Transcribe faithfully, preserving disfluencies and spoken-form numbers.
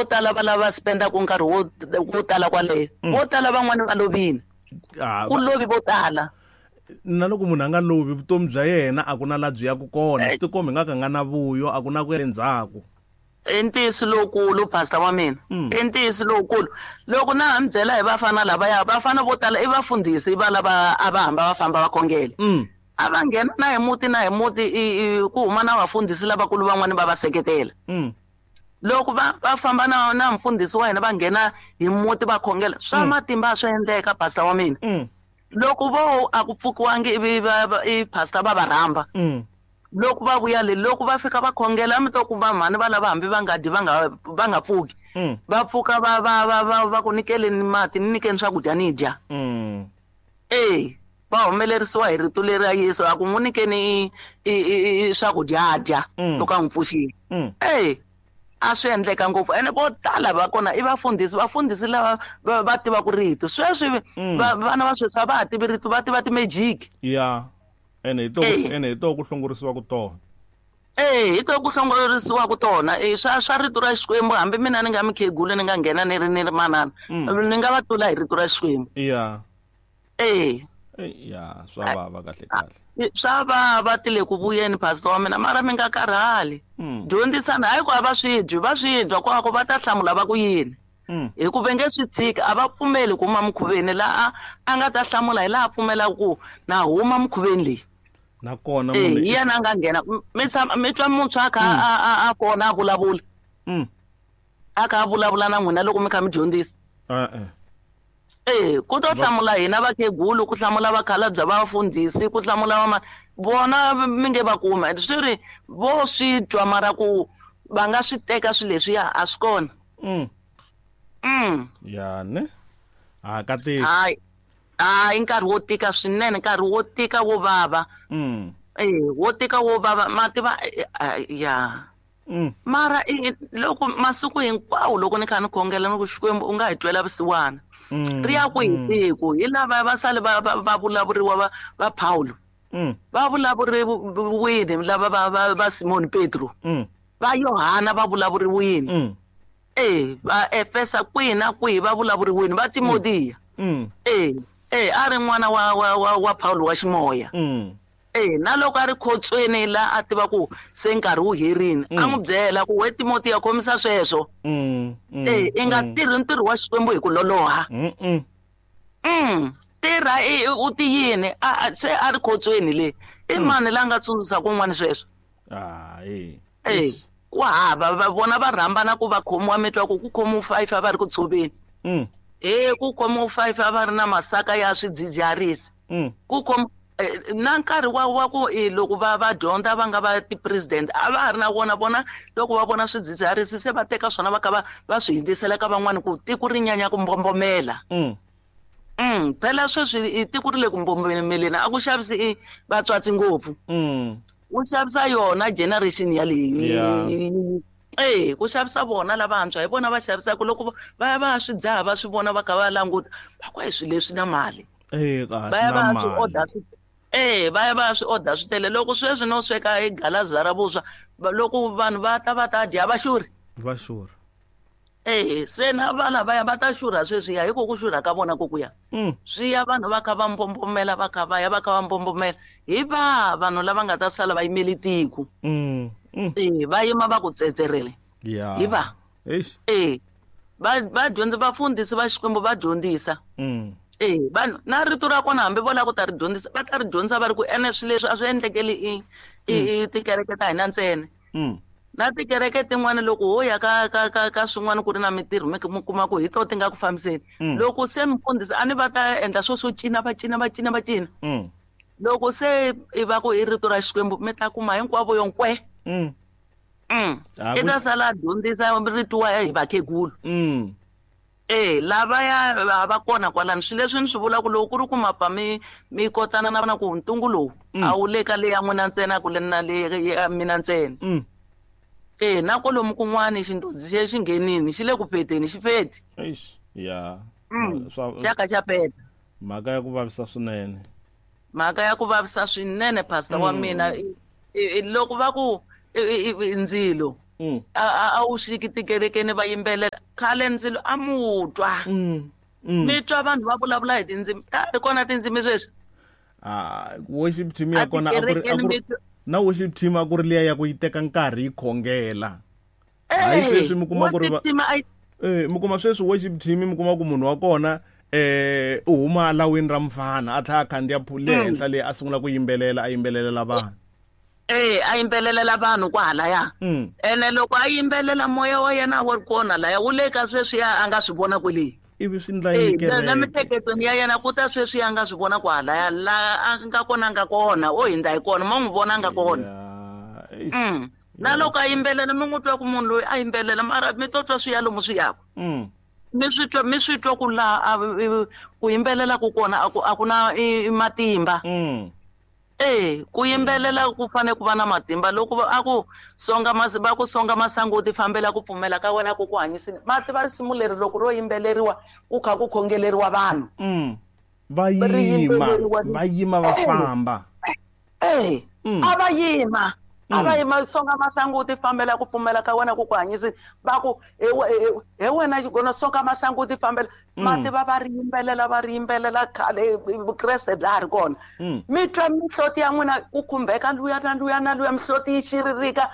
Vo tala va lava spendaka nkarhi wo wo tala kwaleyo. Vo tala van'wani va lovile. Ku lovi vo tala. Na loko munhu a nga lovi vutomi bya yena a ku na la byi ya ku kona swi tikombi nga ka nga na vuyo a ku na ku ya endzhaku. I ntiyiso lowukulu pastor wa mina. I ntiyiso lowukulu. Loko na ha mi byela hi vafana lavaya, vafana vo tala i vafundhisi va lava a va hamba va famba va khongela. A va nghena na hi muti na hi muti ku huma na vafundhisi lavakulu van'wani va va seketela. Loko va va famba na na mfundhisi wa hina va nghena hi muti va khongela swa matimba swi endleka pastor wa mina. Loko vo a ku pfukiwangi ivi i pastor va va rhamba. Loko va vuya le loko va fika va khongela mi to kuma mhani va lava hambi va nga dyi va nga va nga pfuki. Va pfuka va va va va va ku nyikeleni mati ni nyikeni swakudya ni dya. Eh va humelerisiwa hi rito leri ra Yesu a ku n'wi nyikeni i swakudya dya loko a n'wi pfuxile. Eh a swi endleka ngopfu ene vo tala va kona i vafundhisi vafundhisi lava va tivaka rito sweswi vana va sweswi a va ha tivi rito va tiva ti-magic. Yeah. Ene hi to ene hi to ku hlongorisiwa ku tona. Eh hi to ku hlongorisiwa ku tona eh swa swa rito ra Xikwembu hambi mina ni nga mikhegulu ni nga nghena ni ri ni ri manana ni nga va tlula hi rito ra Xikwembu. Yeah. Eh ya swa vava kahle kahle. Swa vava ti le ku vuyeni pastor wa mina mara mi nga karhali. Dyondzisana hayi ku a va swi dyi va swi dya kwako va ta hlamula va ku yini. Hi ku va nge swi tshiki a va pfumeli ku huma mukhuveni laha a nga ta hlamula hi laha pfumelaka ku na huma mukhuveni leyi. Nakona munhu hi yena a nga nghena mi tshama mi twa muntshwa a kha a a kona a vulavula. A kha a vulavula na n'wina loko mi kha mi dyondzisa. E-e. Eh ku to hlamula hina vakhegulu ku hlamula vakhalabya va vafundhisi ku hlamula va vona mi nge va kuma swi ri vo swi twa mara ku va nga swi teka swilo leswiya a swi kona. Mm. Ya ne a ka tiki. Hayi hayi nkarhi wo tika swinene nkarhi wo tika wo vava. Mm. Eh wo tika wo vava ma tiva ya. Mm. Mara loko masiku hinkwawo loko ni kha ni khongela ni ku Xikwembu u nga hi twela vusiwana. Ri ya ku hi tiko hi lava va sale va va vulavuriwa va va Paulo. Va vulavuriwini lava va va va Simon Petro. Va Yohana va vulavuriwini. Eh va Efesa kwihi na kwihi va vulavuriwini va Timotiya. Eh eh a ri n'wana wa wa wa Paulo wa ximoya. Eh na loko a ri khotsweni la a tiva ku se nkarhi wu herini a n'wi byela ku we Timotiya khomisa sweswo. Eh i nga tirhi ntirho wa Xikwembu hi ku loloha. Mm tirha u tiyini a se a ri khotsweni le i mani la nga tsundzuxa kun'wana sweswo. Hayi. Eh ku hava va vona va rhambana ku va khomiwa mi twa ku ku khomiwa five a va ri ku tshoveni. Eh ku khomiwa five a va ri na masaka ya swidzidziharisi. Ku khomiwa na nkarhi wa wa ku loko va va dyondza va nga va ti-president a va ha ri na vona vona loko va vona swidzidziharisi se va teka swona va kha va va swi hundzisela ka van'wani ku tiko ri nyanya ku mbombomela. Mm phela sweswi tiko ri le ku mbombomeleni a ku xavisi i vatswatsi ngopfu. Ku xavisa yona generation yaleyi. Eh ku xavisa vona lavantshwa hi vona va xavisaka loko va ya va swi dzaha va swi vona va kha va languta va ku hi swilo leswi na mali. Eh va ya va swi order swi eh va ya va swi order swi tele loko sweswi no sweka hi galaza ra vuswa loko vanhu va ta va ta dya va xurhi. Va xurha. Eh se na vana va ya va ta xurha sweswi ya hiko ku xurha ka vona kokuya. Swi ya vanhu va kha va mbombomela va kha va ya va kha va mbombomela hi va vanhu lava nga ta sala va yimele tiko. Eh va yima va ku tsetserele. Yeah. Hi va. Eish. Eh va va dyondza vafundhisi va Xikwembu va dyondzisa. Eh vanhu na rito ra kona hambi vo lava ku ta ri dyondzisa va ta ri dyondzisa va ri ku ene swilo leswi a swi endlekeli i i tikereke ta hina ntsena. Na tikereke tin'wana loko ho ya ka ka ka ka swin'wana ku ri na mitirho mi kuma ku hi to ti nga ku fambiseni. Loko se mfundhisi a ni va ta endla swo swo cina va cina va cina va cina. Loko se i va ku i rito ra Xikwembu mi ta kuma hinkwavo yo nkwe. Mm. I ta sala dyondzisa rito wa hi vakhegulu. Eh lava ya va kona kwalano swilo leswi ni swi vulaka loko ku ri ku mapa mi mi kotana na vona ku ntungu lowu a wu le ka le ya n'wina ntsena ku le na le ya mina ntsena. Eh na kwalomu kun'wani xindodzi xi xi nghenini xi le ku peteni xi feti. Eish ya. Xa ka xa peta. Mhaka ya ku vavisa swinene. Mhaka ya ku vavisa swinene pastor wa mina loko va ku ndzilo A wu xiki tikerekeni va yimbelela khale ndzilo a mu twa. Mi twa vanhu va vulavula hi tindzimi ta ri kona tindzimi sweswi. Ah, worship team ya kona a ku ri na worship team a ku ri liya ya ku yi teka nkarhi yi khongela. Hayi sweswi mi kuma ku ri eh mi kuma sweswi worship team mi kuma ku munhu wa kona eh u huma lawini ra mfana a tlhela a khandziya phule henhla leyi a sungula ku yimbelela a yimbelelela vanhu. Eh a yimbelelela vanhu kwahalaya. Ene loko a yimbelela moya wa yena wa ri kona laya wu le ka sweswi a nga swi vona kwele. Ivi swi ndla yini kereke na miehleketweni ya yena ku ta sweswi a nga swi vona kwahalaya la a nga kona nga kona o hindza hi kona ma n'wi vona nga kona. Na loko a yimbelela mi n'wi twa ku munhu loyi a yimbelela mara mi to twa swi ya lomu swi yaka. Mi swi twa mi swi twa ku laha ku yimbelela ku kona a ku a ku na matimba. Eh ku yimbelela ku fanele ku va na matimba loko a ku songa mas va ku songa masangu u ti fambela ku pfumela ka wena ku ku hanyisile. Ma tiva risimu leri loko ro yimbeleriwa ku kha ku khongeleriwa vanhu. Va yima va yima va famba. Eh a va yima a va yima songa masangu u ti fambela ku pfumela ka wena ku ku hanyisile va ku he wena xigona songa masangu u ti fambela. Ma tiva va ri yimbelela va ri yimbelela khale Vukreste bya ha ri kona. Mi twa mihloti ya n'wina ku khumbeka luya na luya na luya mihloti yi xiririka